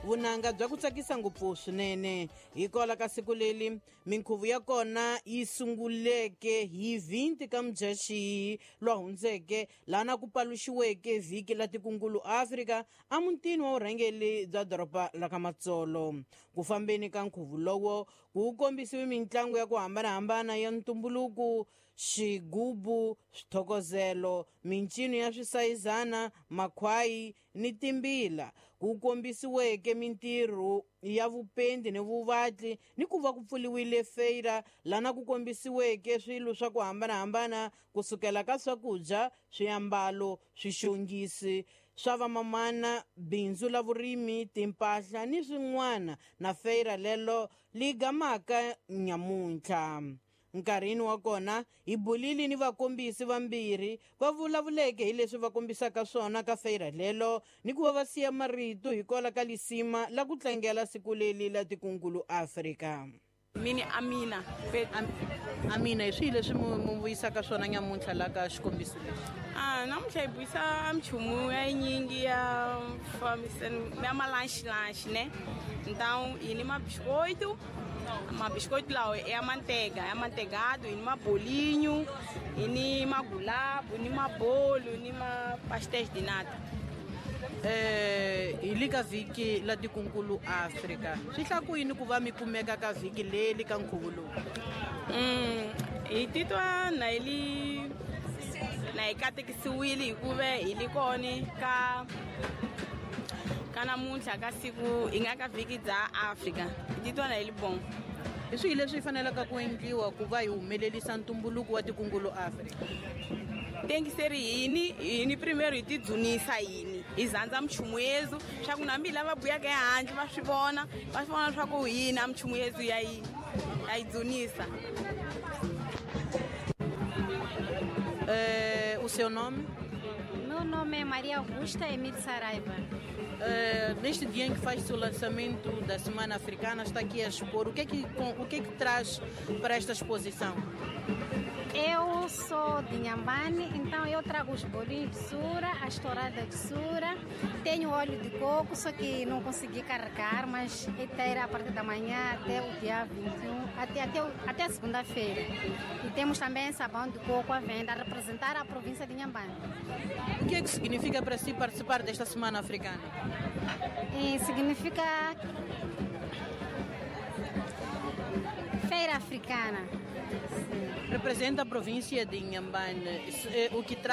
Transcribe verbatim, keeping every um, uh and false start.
Vunanga bya ku tsakisa ngopfu swinene. Hikwalaho ka siku leri minkhuvo ya kona yi sunguleke hi twenty ka Mudyaxihi lwa hundzeke, laha ku paluxiweke vhiki la tikungulu Afrika emutini wa vurhangeri bya doroba la ka Matsolo. Ku fambeni ka nkhuvo lowo ku kombisiwe mitlangu ya ku hambanahambana ya ntumbuluko, xigubu, swithokozelo, mincino ya swisayizana, makhwayi ni timbila. Ku kombisiweke mintirho ya vupendi ni vuvatli, ni ku va ku pfuriwile feira lana ku kombisiweke swilo swa ku hambanahambana kusukela ka swakudya, swiambalo, swixongisi swa vamamana, bindzu la vurimi, timpahla ni swin'wana, na feira lelo li gamaka nyamuntlha. Nkarhini wa kona hi bulile ni vakombisi vambirhi va vulavuleke hi leswi va kombisaka swona ka feira lelo, ni ku va va siya marito hikwalaho ka lisima la ku tlangela siku leri la tikungulu Afrika. Mini Amina. Am, Amina, hi swihi leswi mu, mu vuyisaka swona nyamuntlha la ka xikombiso lexi? Ah, namuntlha hi vuyisa minchumu ya yinyingi ya fambisana ya malanchi-lanchi, né? Então, hi ni mabiscoito, mabiscoito lawa ya manteiga, ya manteigado, hi ni mabolinho, hi ni magulabo, ni mabolo, ni ma pastéis de nata. Eh, hi le ka vhiki la tikungulu Afrika, swi hla ku yini ku va mi kumeka ka vhiki leri ka nkhuvo lowu? Mm, hi titwa na hi li na hi katekisiwile hikuva hi li kona ka ka namuntlha ka siku hi nga ka vhiki bya Afrika. Hi titwa na hi li bon. Hi swihi leswi faneleke ku endliwa ku va hi humelerisa ntumbuluko wa tikungulu Afrika? Tengiseri yini yini primeiro hi tidzunisa yini hi zandza minchumu yezu swa ku nambi lava buyaka ehandle va swi vona va swi vona swa ku hina minchumu yezu ya yi ya yi dzunisa. Eh, o seu nome? Meu nome é Maria Augusta Emílio Saraiva. Uh, neste dia em que faz-se o lançamento da Semana Africana, está aqui a expor. O que é que, com, o que é que traz para esta exposição? Eu sou de Inhambane, então eu trago os bolinhos de sura, a estourada de sura, tenho óleo de coco, só que não consegui carregar, mas inteira a partir da manhã até o dia vinte e um, até, até, até segunda-feira. E temos também sabão de coco à venda, a representar a província de Inhambane. O que é que significa para si participar desta Semana Africana? E significa Feira Africana. Sim. Representa a província de Inhambane, o que traz